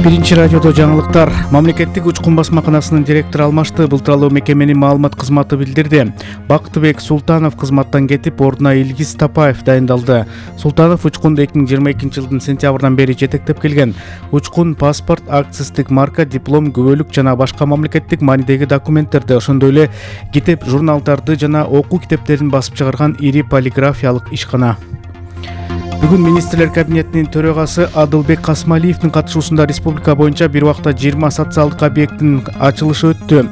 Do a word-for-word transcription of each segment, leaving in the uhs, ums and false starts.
Биринчи радиодо жаңылыктар. Мамлекеттик учкун басмаканасынын директору алмашты. Бул тууралуу мекеменин маалымат кызматы билдирди. Бактыбек Султанов кызматтан кетип, ордуна Илгиз Тапаев дайындалды. Султанов учкунду эки миң жыйырма экинчи жылдын сентябрынан бери жетектеп келген. Учкун паспорт, акциздик марка, диплом, күбөлүк жана башка мамлекеттик маанидеги документтерди, ошондой эле китеп, журналдарды жана окуу китептерин басып чыгарган ири полиграфиялык ишкана. Бүгүн министрлер кабинетинин төрагасы Адылбек Касмалиевдин катышуусунда республика боюнча бир убакта жыйырма социалдык объекттин ачылышы өттү.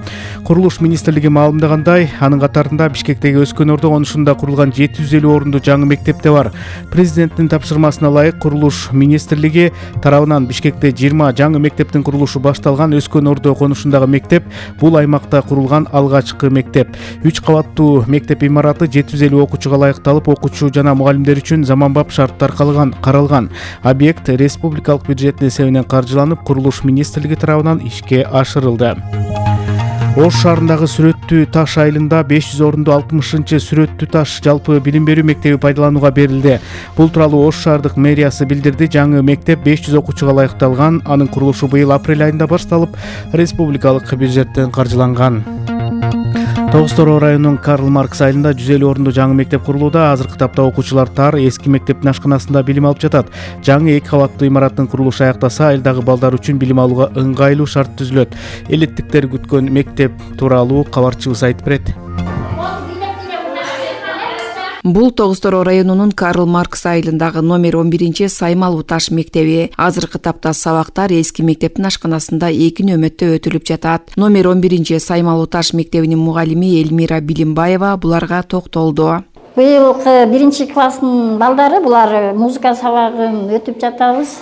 Курулуш министрлиги маалымдагандай, анын катарында Бишкектеги Өскөн Ордо конушунда курулган жети жүз элүү орунду жаңы мектеп де бар. Президенттин тапшырмасына ылайык Курулуш министрлиги тарабынан Бишкекте жыйырма жаңы мектептин курулушу башталган. Өскөн Ордо конушундагы мектеп бул аймакта курулган алгачкы мектеп. үч кабаттуу мектеп имараты жети жүз элүү окуучуга ылайыкталып, окуучу жана мугалимдер үчүн заманбап шарт таркалган каралган. Объект республикалык бюджеттин эсебинен каржыланып, Курулуш министрлиги тарабынан ишке ашырылды. Ош шаарындагы Сүрөттүү таш айылында беш жүз орунду алтымышынчы Сүрөттүү таш жалпы билим берүү мектеби пайдаланууга берилди. Бул тууралуу Ош шаардык мэриясы билдирди. Жаңы мектеп беш жүз окуучуга ылайыкталган. Анын курулушу быйыл апрель айында башталып, республикалык бюджеттен каржыланган. Тогуз Тороо районунун Карл Маркс айылында жүз элүү орунду жаңы мектеп курулууда. Азыркы тапта окуучулар тар эски мектептин ашканасында билим алып жатат. Жаңы эки кабаттуу имараттын курулушу аяктаса, айылдагы балдар үчүн билим алууга ыңгайлуу шарт түзүлөт. Элеттиктер күткөн мектеп тууралуу кабарчыбыз айтып берет. Бул Тогуз Тороо районунун Карл Маркс айылындагы номер он биринчи Саймалуу таш мектеби. Азыркы тапта сабактар эски мектептин ашканасында эки нөмөттө өтүлүп жатат. Номер он биринчи Саймалуу таш мектебинин мугалими Элмира Билимбаева буларга токтолду. Быйылкы биринчи класстын балдары булар музыка сабагын өтүп жатабыз.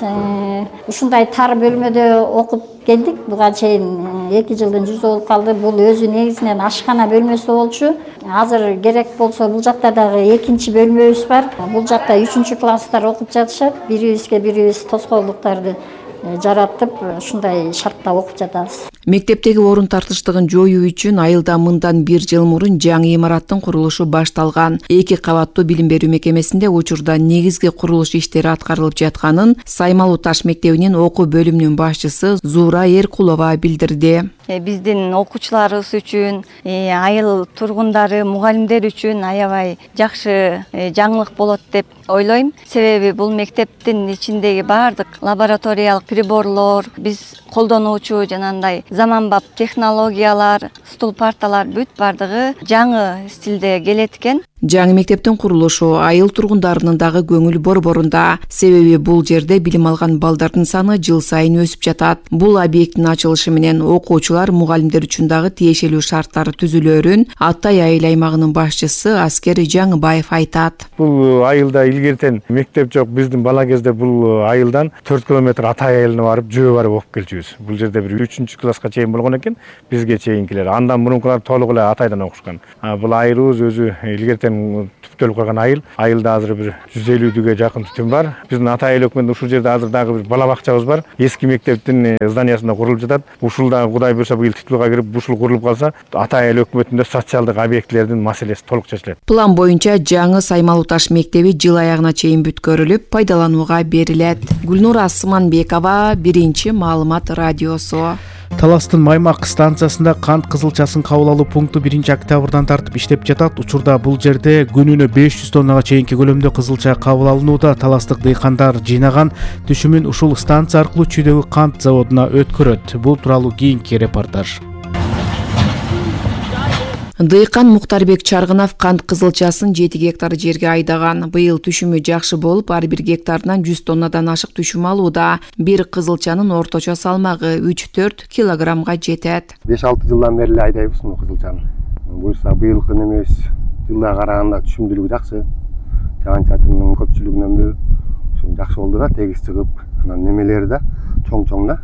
Ушундай тар бөлмөдө окуп келдик. Буга чейин эки жылдын жүзү болуп калды. Бул өзү негизинен ашкана бөлмөсү болчу. Азыр керек болсо бул жакта дагы экинчи бөлмөбүз бар. Бул жакта үчүнчү класстар окуп жатышат. Бирибизге бирибиз тоскоолдуктарды жаратып, ушундай шартта окуп жатабыз. Мектептеги орун тартыштыгын жоюу үчүн айылда мындан бир жыл мурун жаңы имараттын курулушу башталган. Эки кабаттуу билим берүү мекемесинде учурда негизги курулуш иштери аткарылып жатканын Саймалуу таш мектебинин окуу бөлүмүнүн башчысы Зуура Эркулова билдирди. Биздин окуучуларыбыз үчүн, айыл тургундары, мугалимдер үчүн аябай жакшы жаңылык болот деп ойлойм. Себеби бул мектептин ичиндеги баардык лабораториялык приборлор, биз колдонуучу жанагындай заманбап технологиялар, стул парталар бүт бардыгы жаңы стилде келет экен. Жаңы мектептин курулушу айыл тургундарынын дагы көңүл борборунда. Себеби бул жерде билим алган балдардын саны жыл сайын өсүп жатат. Бул объекттин ачылышы менен окуучулар, мугалимдер үчүн дагы тиешелүү шарттар түзүлөрүн Аттай айыл аймагынын башчысы Аскер Жаңыбаев айтат. Бул айылда илгертен мектеп жок. Биздин бала кезде бул айылдан төрт километр Аттай айылына барып, жөө барып окуп келчүбүз. Бул жерде бир үчүнчү класска чейин болгон экен, бизге чейинкилер. Андан мурункулар толук эле Атайдан окушкан. Бул айылыбыз өзү илгертен түптөлүп калган айыл. Айылда азыр бир жүз элүүгө жакын түтүн бар. Биздин Атай айыл өкмөтүндө ушул жерде азыр дагы бир бала бакчабыз бар. Эски мектептин зданиясында курулуп жатат. Ушул да Кудай буйрса быйыл титулга кирип, ушул курулуп калса, Атай айыл өкмөтүндө социалдык объектилердин маселеси толук чечилет. План боюнча жаңы Саймалуу таш мектеби жыл аягына чейин бүткөрүлүп, пайдаланууга берилет. Гүлнура Асманбекова, Биринчи маалымат радиосу. Таластын Маймак станциясында кант кызылчасын кабыл алуу пункту биринчи октябрдан тартып иштеп жатат. Учурда бул жерде күнүнө беш жүз тоннага чейинки көлөмдө кызылча кабыл алынууда. Таластык дыйкандар жыйнаган түшүмүн ушул станция аркылуу Чүйдөгү кант заводуна өткөрөт. Бул тууралуу кийинки репортаж. Дыйкан Муктарбек Чаргынов кант кызылчасын жети гектар жерге айдаган. Быйыл түшүмү жакшы болуп, ар бир гектарынан жүз тоннадан ашык түшүм алууда. Бир кызылчанын орточо салмагы үч төрт килограммга жетет. беш алты жылдан бери эле айдайбыз муну кызылчаны. Буюрса быйылкы немебиз жылга караганда түшүмдүүлүгү жакшы. Жаан-чачындын көпчүлүгүнөнбү ошо жакшы болду да, тегиз чыгып, анан немелери да чоң-чоң да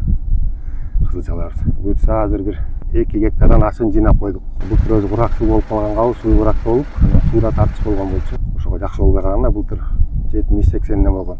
кызылчалар. Буюрса азыр бир эки гектардан ашын жыйнап койдук. Былтыр өзү куракчыл болуп калганга, суу куракчыл болуп, суура тартыш болгон болчу. Ошого жакшы болбой калганда былтыр жетимиш сексенден болгон.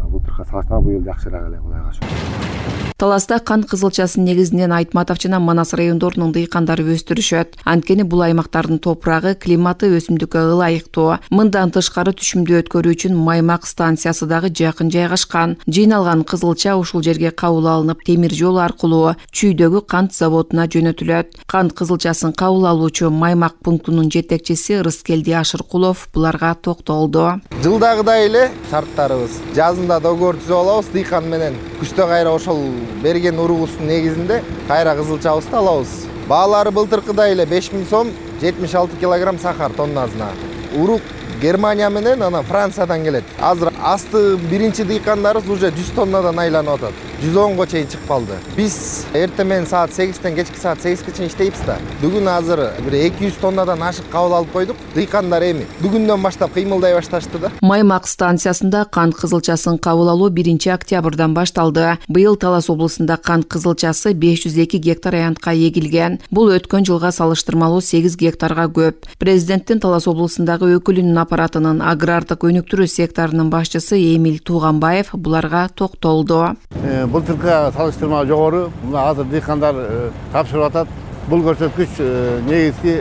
Былтыркы салыштырмалуу быйыл жакшыраак эле, Кудайга шүгүр. Таласта кант кызылчасын негизинен Айтматов жана Манас райондорунун дыйкандары өстүрүшөт. Анткени бул аймактардын топурагы, климаты өсүмдүккө ылайыктуу. Мындан тышкары түшүмдү өткөрүү үчүн Маймак станциясы дагы жакын жайгашкан. Жыйналган кызылча ушул жерге кабыл алынып, темир жол аркылуу Чүйдөгү кант заводуна жөнөтүлөт. Кант кызылчасын кабыл алуучу Маймак пунктунун жетекчиси Рыскелди Ашыркулов буларга токтолду. Жылдагыдай эле шарттарыбыз. Жазында договор түзүп алабыз дыйкан менен. Күздө кайра ошол берген уругубуздун негизинде кайра кызылчабызды алабыз. Баалары былтыркыдай эле беш миң сом, жетимиш алты килограмм сахар тоннасына. Урук Германия менен анан Франциядан келет. Азыр асты биринчи дыйкандарыбыз уже жүз тоннадан айланып атат. жүз онго чейин чыгып калды. Биз эртең менен саат сегизден кечки саат сегизге чейин иштейбиз да. Бүгүн азыр бир эки жүз тоннадан ашык кабыл алып койдук. Дыйкандар эми бүгүндөн баштап кыймылдай башташты да. Маймак станциясында кант кызылчасын кабыл алуу биринчи октябрдан башталды. Быйыл Талас облусунда кант кызылчасы беш жүз эки гектар аянтка эгилген. Бул өткөн жылга салыштырмалуу сегиз гектарга көп. Президенттин Талас облусундагы өкүлүнүн аппаратынын агрардык өнүктүрүү секторунун башчысы Эмил Тууганбаев буларга токтолду. Былтыркыга салыштырмалуу жогору. Мына азыр дыйкандар тапшырып атат. Бул көрсөткүч негизги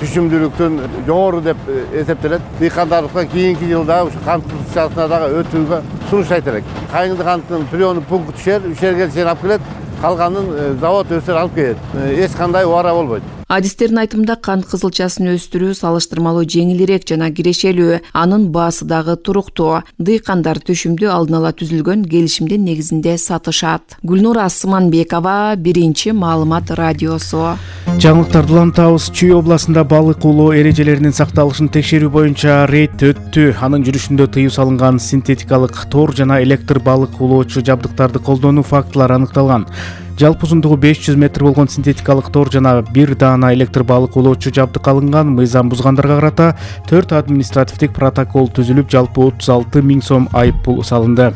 түшүмдүүлүктүн жогору деп эсептелет. Дыйкандарга кийинки жылда ушу кант кызылчасына дагы өтүүгө сунуштайт элек. Кайыңды канттын приёмдук пункту түшөр, үч жерге чейин алып келет. Калганын завод өсөр алып келет. Эч кандай убара болбойт. Адистердин айтымында кант кызылчасын өстүрүү салыштырмалуу жеңилирээк жана кирешелүү, анын баасы дагы туруктуу. Дыйкандар түшүмдү алдын ала түзүлгөн келишимдин негизинде сатышат. Гүлнура Асманбекова, Биринчи маалымат радиосу. Жаңылыктарды улантабыз. Чүй областында балык улоо эрежелеринин сакталышын текшерүү боюнча рейд өттү. Анын жүрүшүндө тыюу салынган синтетикалык тор жана электр балык улоочу жабдыктарды колдонуу фактылары аныкталган. Жалпы узундугу беш жүз метр болгон синтетикалык тор жана бир даана электр балык улоочу жабдык алынган. Мыйзам бузгандарга карата төрт административдик протокол түзүлүп, жалпы отуз алты миң сом айып пул салынды.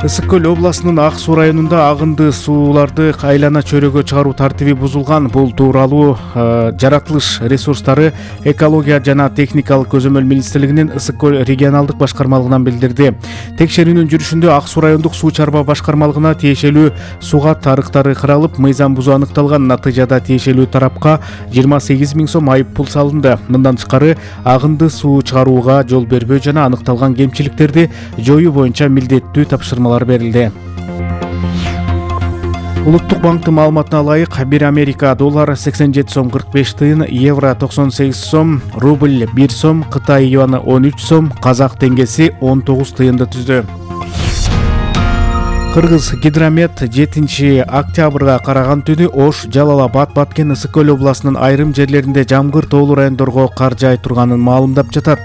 Ысык көл областынын Ак Суу районунда агынды сууларды айлана чөйрөгө чыгаруу тартиби бузулган. Бул тууралуу жаратылыш ресурстары, экология жана техникалык көзөмөл министрлигинин Ысык көл регионалдык башкармалыгынан билдирди. Текшерүүнүн жүрүшүндө Ак Суу райондук суу чарба башкармалыгына тиешелүү суга тарыктары кыралып, мыйзам бузуу аныкталган. Натыйжада тиешелүү тарапка жыйырма сегиз миң сом айып пул салынды. Мындан тышкары агынды суу чыгарууга жол бербөө жана аныкталган кемчиликтерди жоюу боюнча милдеттүү тапшырмалар берилди. Улуттук банктын маалыматына ылайык, бир Америка доллары сексен жети сом кырк беш тыйын, евро токсон сегиз сом, рубль бир сом, Кытай юаны он үч сом, казак теңгеси он тогуз тыйынды түздү. Кыргыз гидромет жетинчи октябрга караган түнү Ош, Жалал Абад, Баткен, Ысык көл областынын айрым жерлеринде жамгыр тоолуу райондорго кар жаай турганын маалымдап жатат.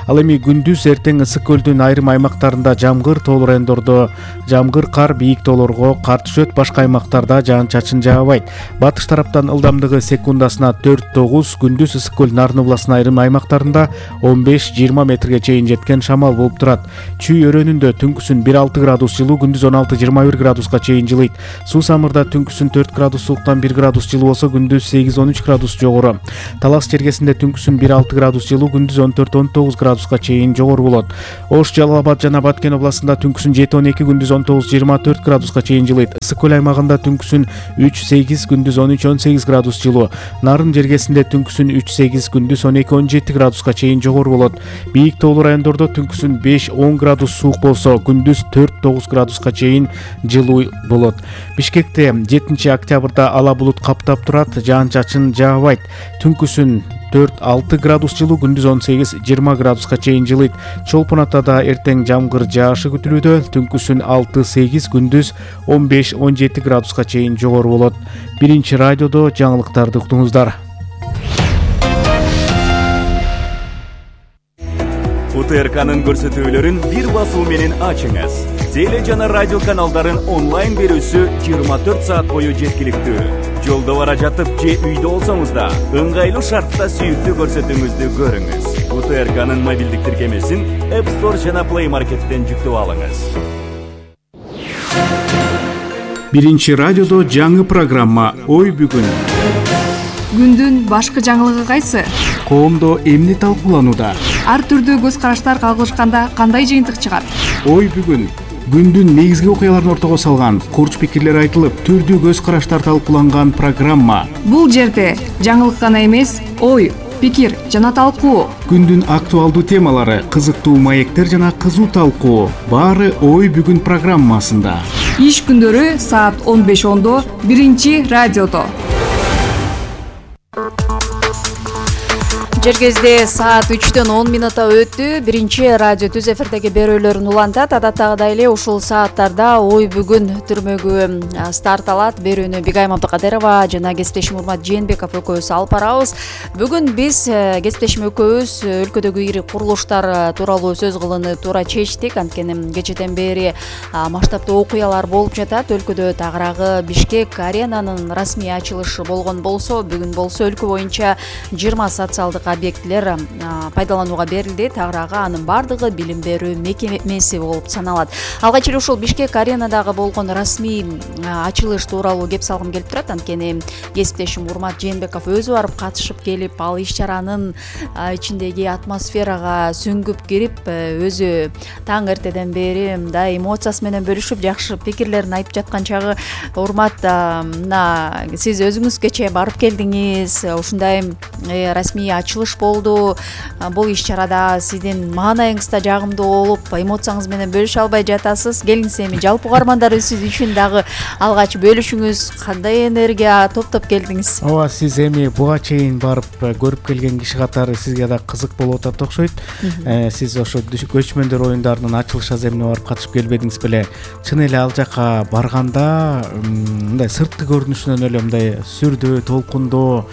Ал эми күндүз эртең Ысык көлдүн айрым аймактарында жамгыр, тоолуу райондордо жамгыр, кар, бийик тоолорго кар түшөт, башка аймактарда жаан-чачын жаабайт. Батыш тараптан ылдамдыгы секундасына төрт тогуз, күндүз Ысык көл Нарын областынын айрым аймактарында он беш жыйырма метрге чейин жеткен шамал болуп турат. Чүй өрөөнүндө түнкүсүн бир алты градус жылуу, күндүз он алты жыйырма бир градуска чейин жылыйт. Суу самырда түнкүсүн төрт градус сууктан бир градус жылуу болсо, күндүз сегиз он үч градус жогору. Талас чергесинде түнкүсүн бир алты градус жылуу, күндүз он төрт он тогуз градуска чейин жогору болот. Ош, Жалал Абад жана Баткен областында түнкүсүн жети он эки, күндүз он тогуз жыйырма төрт градуска чейин жылыйт. Ысык көл аймагында түнкүсүн үч сегиз, күндүз он үч он сегиз градус жылуу. Нарын жергесинде түнкүсүн үч сегиз, күндүз он эки он жети градуска чейин жогору болот. Бийик тоолуу райондордо түнкүсүн беш он градус суук болсо, күндүз төрт тогуз градуска чейин жылуу болот. Бишкекте жетинчи октябрда ала булут каптап турат, жаан-чачын жаабайт. Түнкүсүн төрт алты градус жылуу, күндүз он сегиз жыйырма градуска чейин жылыйт. Чолпон Атада эртең жамгыр жаашы күтүлүүдө, түнкүсүн алты сегиз, күндүз он беш он жети градуска чейин жогору болот. Биринчи радиодо жаңылыктарды уктуңуздар. У Т Р К'нын көрсөтүүлөрүн бир басуу менен ачыңыз. Теле жана радио каналдарын онлайн берүүсү жыйырма төрт саат бою жеткиликтүү. Жолдо бара жатып же үйдө болсоңуз да ыңгайлуу шартта сүйүктүү көрсөтүүңүздү көрүңүз. У Т Р К'нын мобилдик тиркемесин App Store жана Play Market'тен жүктөп алыңыз. Биринчи радиодо жаңы программа Ой бүгүн. Күндүн башкы жаңылыгы кайсы? Коомдо эмне талкууланууда? Ар түрдүү көз караштар кагылышканда кандай жыйынтык чыгат? Ой бүгүн күндүн негизги окуяларын ортого салган, курч пикирлер айтылып, түрдүү көз караштар талкууланган программа. Бул жерде жаңылык гана эмес, ой, пикир жана талкуу. Күндүн актуалдуу темалары, кызыктуу маектер жана кызуу талкуу. Баары Ой бүгүн программасында. Иш күндөрү саат он беш ондо биринчи радиодо. Жергезде саат үчтөн он минута өттү. Биринчи радио түз эфирдеги берүүлөрүн улантат. Адаттагыдай эле ушул сааттарда Ой бүгүн түрмөгү старт алат. Берүүнү Бигайым Абдыкадырова жана кесиптешим Урмат Жээнбеков экөөбүз алып барабыз. Бүгүн биз кесиптешим экөөбүз өлкөдөгү ири курулуштар тууралуу сөз кылууну туура чечтик. Анткени кечеден бери масштабдуу окуялар болуп жатат. Өлкөдө тагыраагы Бишкек аренанын расмий ачылышы болгон болсо, бүгүн болсо өлкө боюнча жыйырма социалдык объектилер пайдаланууга берилди. Тагыраагы анын бардыгы билим берүү мекемеси болуп саналат. Алгач эле ушул Бишкек аренадагы болгон расмий ачылыш тууралуу кеп салгым келип турат. Анткени кесиптешим Урмат Жээнбеков өзү барып катышып келип, ал иш чаранын ичиндеги атмосферага сүңгүп кирип, өзү таң эртеден бери мындай эмоциясы менен бөлүшүп, жакшы пикирлерин айтып жаткан чагы, Урмат, мына сиз өзүңүз кечээ барып келдиңиз, ушундай расмий ачылыш болду. Бул иш чарада сиздин маанайыңыз да жагымдуу болуп, эмоцияңыз менен бөлүшө албай жатасыз. Келиңиз эми жалпы угармандар сиз үчүн дагы алгач бөлүшүңүз, кандай энергия топтоп келдиңиз? Ооба, сиз эми буга чейин барып көрүп келген киши катары сизге да кызык болуп атат окшойт. Сиз ошо көчмөндөр оюндарынын ачылыш аземине барып катышып келбедиңиз беле? Чын эле ал жака барганда мындай сырткы көрүнүшүнөн эле мындай сүрдүү, толкундоо,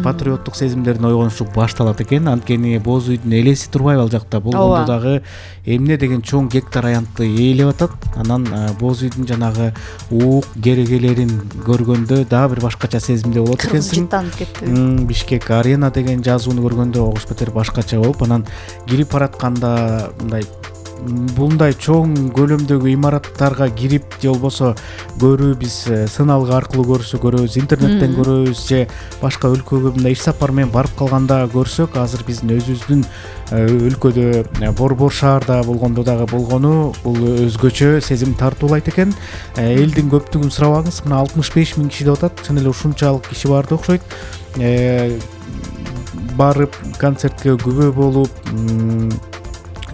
патриоттук сезимдердин ойгонушу башталат экен. Анткени боз үйдүн элеси турбайбы ал жакта? Болгондо дагы эмне деген чоң гектар аянтты ээлеп атат. Анан боз үйдүн жанагы уук керегелерин көргөндө дагы бир башкача сезимде болот экенсиң. Жыттанып кетти. Бишкек арена деген жазууну көргөндө огуш бетер башкача болуп, анан кирип баратканда мындай мындай чоң көлөмдөгү имараттарга кирип, же болбосо көрүү, биз сыналгы аркылуу көрсө көрөбүз, интернеттен көрөбүз, же башка өлкөгө мындай иш сапар менен барып калганда көрсөк, азыр биздин өзүбүздүн өлкөдө борбор шаарда болгондо дагы болгону бул өзгөчө сезим тартуулайт экен. Элдин көптүгүн сурабаңыз, мына алтымыш беш миң киши деп атат. Чын эле ушунчалык киши барды окшойт. Барып концертке күбө болуп,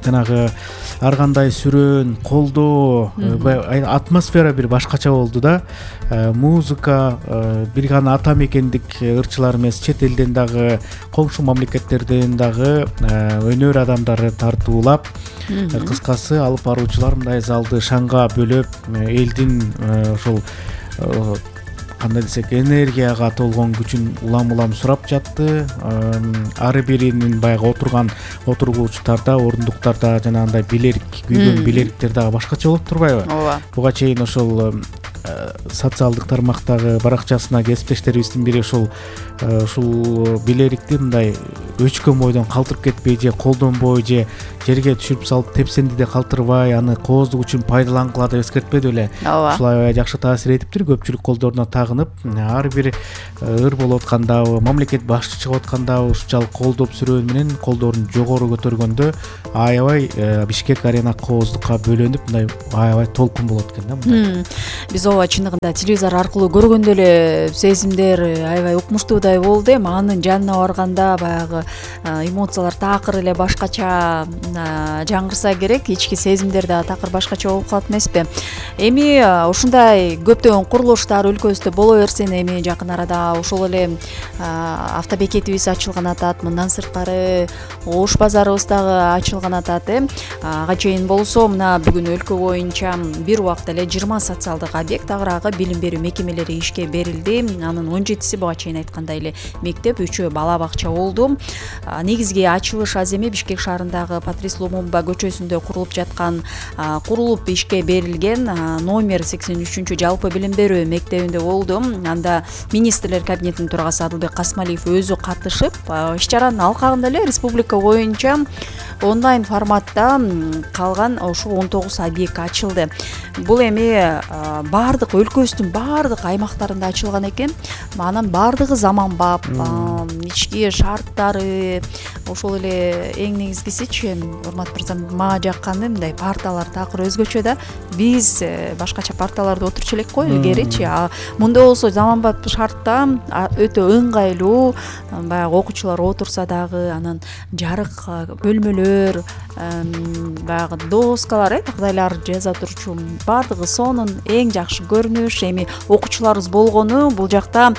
жанагы ар кандай сүрөөн, колдоо, атмосфера бир башкача болду да. Музыка, бир гана ата мекендик ырчылар эмес, чет элден дагы, коңшу мамлекеттерден дагы өнөр адамдары тартуулап, кыскасы алып баруучулар мындай залды шаңга бөлөп, элдин ошол кандай десек, энергияга толгон күчүн улам-улам сурап жатты. Ары биринин баягы отурган отургучтарда, орундуктарда жанагындай билерик, күйгөн билериктер дагы башкача болуп турбайбы? Ооба. Буга чейин ошол социалдык тармактагы баракчасына кесиптештерибиздин бири ушул ушул билерикти мындай өчкөн бойдон калтырып кетпей, же колдонбой, же жерге түшүрүп салып тепсендиде калтырбай, аны кооздук үчүн пайдалангыла деп эскертпеди беле? Ушул аябай жакшы таасир этиптир. Көпчүлүк колдоруна тагынып, ар бир ыр болуп аткандабы, мамлекет башчы чыгып аткандабы ушунчалык колдоп сүрөөн менен колдорун жогору көтөргөндө аябай Бишкек арена кооздукка бөлөнүп, мындай аябай толкун болот экен да мындай. Биз ооба чындыгында телевизор аркылуу көргөндө эле сезимдер аябай укмуштуудай болду. Эми анын жанына барганда баягы эмоциялар такыр эле башкача жаңырса керек, ички сезимдер да такыр башкача болуп калат эмеспи? Эми ушундай көптөгөн курулуштар өлкөбүздө боло берсин. Эми жакын арада ошол эле автобекетибиз ачылган атат, мындан сырткары Ош базарыбыз дагы ачылган атат. Ага чейин болсо мына бүгүн өлкө боюнча бир убакта эле жыйырма социалдык объект, тагыраагы билим берүү мекемелери ишке берилди. Анын он жетиси буга чейин айткандай эле мектеп, үчөө бала бакча болду. Негизги ачылыш аземи Бишкек шаарындагы Патрис Лумумба көчөсүндө курулуп жаткан, курулуп ишке берилген номер сексен үчүнчү жалпы билим берүү мектебинде болду. Анда министрлер кабинетинин төрагасы Адылбек Касмалиев өзү катышып, иш чаранын алкагында эле республика боюнча онлайн форматта калган ошол он тогуз объект ачылды. Бул эми баардык өлкөбүздүн баардык аймактарында ачылган экен. Анан баардыгы заманбап, ички шарттары, ошол эле эң негизгисичи урматтуу мырзам мага жакканы мындай парталар такыр өзгөчө да биз башкача парталарда отурчу элек го илгеричи. Мында болсо заманбап шартта өтө ыңгайлуу, баягы окуучулар отурса дагы анан жарык бөлмөлөр, баягы доскалар э тагдайлар жаза турчу баардыгы сонун эң жакшы көрүнүш. Эми окуучуларыбыз болгону бул жакта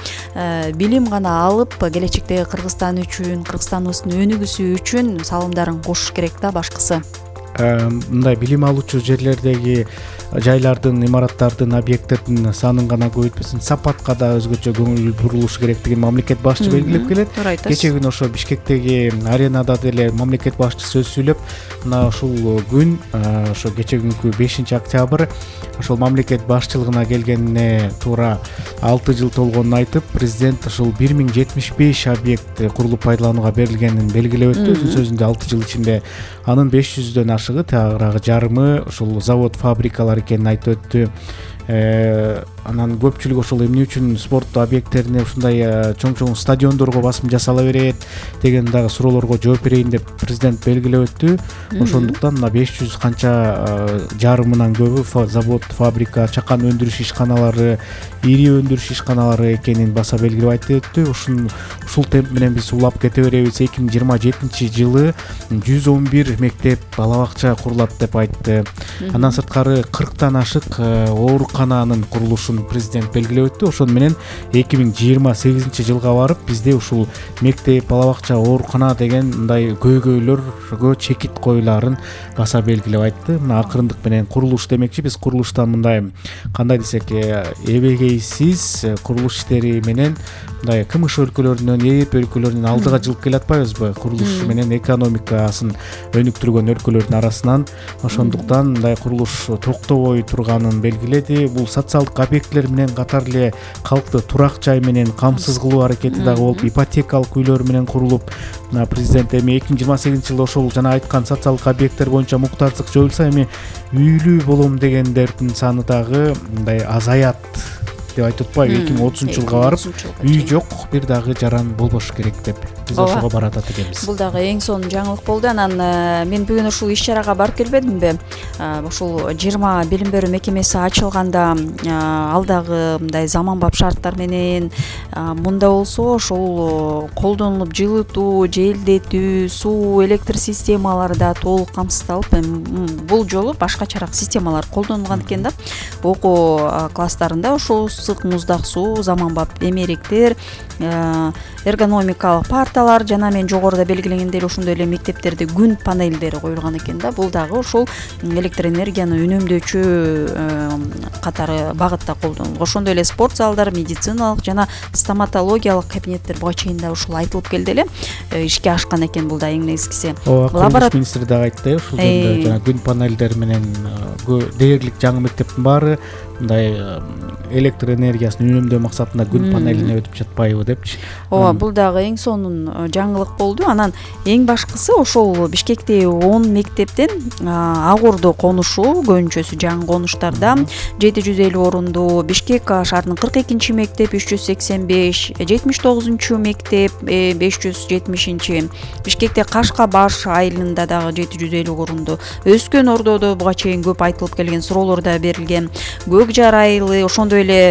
билим гана алып келечектеги Кыргызстан үчүн, Кыргызстаныбыздын өнүгүүсү үчүн салымдарын кошуш керек да башкысы. Мындай билим алуучу жерлердеги жайлардын, имараттардын, объекттердин санын гана көбөйтпөсүн, сапатка да өзгөчө көңүл бурулуш керектигин мамлекет башчы белгилеп келет. Кечээ күнү ошо Бишкектеги аренада деле мамлекет башчысы сөз сүйлөп, мына ушул күн, ошо кечээ күнкү бешинчи октябрь ошол мамлекет башчылыгына келгенине туура алты жыл толгонун айтып, президент ушул бир миң жетимиш беш объект курулуп пайдаланууга берилгенин белгилеп өттү. Өзүнүн сөзүндө алты жыл ичинде анын беш жүздөн ашыгы, тагыраагы жарымы ушул завод, фабрикалар экенин айтып өттү. Анан көпчүлүк ошол эмне үчүн спорт объекттерине ушундай чоң-чоң стадиондорго басым жасала берет деген дагы суроолорго жооп берейин деп президент белгилеп өттү. Ошондуктан мына беш жүз канча жарымынан көбү завод, фабрика, чакан өндүрүш ишканалары, ири өндүрүш ишканалары экенин баса белгилеп айтып өттү. Ушун ушул темп менен биз улап кете беребиз. эки миң жыйырма жетинчи жылы жүз он бир мектеп, бала бакча курулат деп айтты. Андан сырткары кырктан ашык оорукананын курулушун президент белгилеп өттү. Ошону менен эки миң жыйырма сегизинчи жылга барып бизде ушул мектеп, бала бакча, оорукана деген мындай көйгөйлөргө чекит коюлаарын баса белгилеп айтты. Мына акырындык менен курулуш демекчи, биз курулуштан мындай кандай десек, эбегейсиз курулуш иштери менен мындай КМШ өлкөлөрүнөн, Европа өлкөлөрүнөн алдыга жылып келе атпайбызбы? Курулуш менен экономикасын өнүктүргөн өлкөлөрдүн арасынан. Ошондуктан мындай курулуш токтобой турганын белгиледи. Бул социалдык объектилер менен катар эле калкты турак жай менен камсыз кылуу аракети дагы болуп, ипотекалык үйлөр менен курулуп, мына президент эми эки миң жыйырма сегизинчи жылда ошол жана айткан социалдык объекттер боюнча муктаждык жоюлса, эми үйлүү болом дегендердин саны дагы мындай азаят деп айтып атпайбы? эки миң отузунчу жылга барып үй жок, бир дагы жаран болбош керек деп биз ошого баратат экенбиз. Бул дагы эң сонун жаңылык болду. Анан мен бүгүн ушул иш-чарага барып келбедимби? Ушул жыйырма билим берүү мекемеси ачылганда ал дагы мындай заманбап шарттар менен, мында болсо ошол колдонулуп жылытуу, желдетүү, суу, электр системалары да толук камсыздалып, бул жолу башкачараак системалар колдонулган экен да. Окуу класстарында ошол ысык муздак суу, заманбап эмеректер, эргономикалык парталар жана мен жогоруда белгилегендей ошондой эле мектептерде күн панелдери коюлган экен да. Бул дагы ошол электр энергияны үнөмдөөчү катары багытта колдонулган. Ошондой эле спорт залдар, медициналык жана стоматологиялык кабинеттер буга чейин да ушул айтылып келди эле, ишке ашкан экен. Бул да эң негизгиси. Курулуш министри дагы айтты, ушул жөнүндө жана күн панелдер менен дээрлик жаңы мектептин баары мындай электр энергиясын үнөмдөө максатында күн панелине өтүп жатпайбы депчи. Ооба, бул дагы эң сонун жаңылык болду. Анан эң башкысы ошол Бишкектеги он мектептен Агурду конушу, көбүнчөсү жаңы конуштарда жети жүз элүү орундуу, Бишкек шаарынын кырк экинчи мектеп үч жүз сексен беш, жетимиш тогузунчу мектеп беш жүз жетимишинчи, Бишкекте Кашкабаш айылында дагы жети жүз элүү орундуу, Өскөн Ордодо буга чейин көп айтылып келген суроолор да берилген, Көкжар айылы, ошондой эле